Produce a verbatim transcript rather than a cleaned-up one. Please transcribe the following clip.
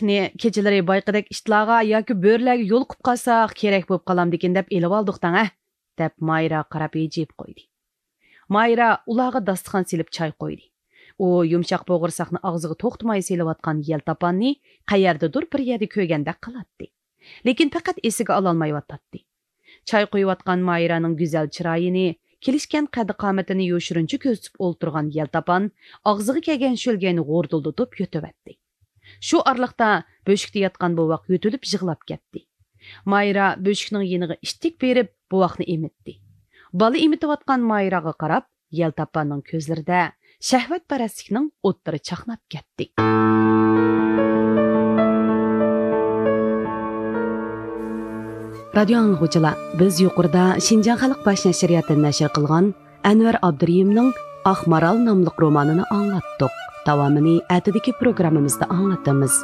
كېچىلىرى بايىقىدەك ئىتلارغا ياكى بۆرىلەرگە يولۇقۇپ قالساق، كېرەك بولۇپ قالامدىكىن دەپ ئېلىۋالدۇق دەڭ ھە، دەپ مايرا قاراپ ھىجىيىپ قويدى. مايرا ئۇلارغا داستىخان سېلىپ چاي قويدى. ئۇ يۇمشاق بوغۇرساقنى ئاغزىغا توختىماي سېلىۋاتقان يەلتاپاننى قەيەردىدۇر بىر يەردە كۆرگەندەك قىلاتتى. لېكىن پەقەت ئېسىگە ئالالمايۋاتاتتى. چاي قۇيۇۋاتقان مايرانىڭ گۈزەل چىرايىنى، كېلىشكەن قەددى-قامىتىنى يوشۇرۇنچە كۆزىتىپ ئولتۇرغان يەلتاپان ئاغزىغا كەلگەن شۆلگەينى غوردۇلدىتىپ يۇتۇۋەتتى. شۇ ئارىلىقتا بۆشۈكتە ياتقان بوۋاق يۆتىلىپ يىغلاپ كەتتى. مايرا بۆشۈكنىڭ يېنىغا ئىتتىك بېرىپ، بوۋاقنى ئېمىتتى. بالا ئېمىتىۋاتقان مايراغا قاراپ، يەلتاپاننىڭ كۆزلىرىدە شەھۋەتپەرەسلىكنىڭ ئوتلىرى چاقناپ كەتتى. رادىيو ئاڭلىغۇچىلار، بىز يۇقىرىدا شىنجاڭ خەلق باش نەشرىياتىدىن نەشر قىلغان ئەنۋەر ئابدۇرېھىمنىڭ ئاق مارال ناملىق رومانىنى ئاڭلاتتۇق. داۋامىنى ئەتىدىكى پروگراممىمىزدا ئاڭلىتىمىز.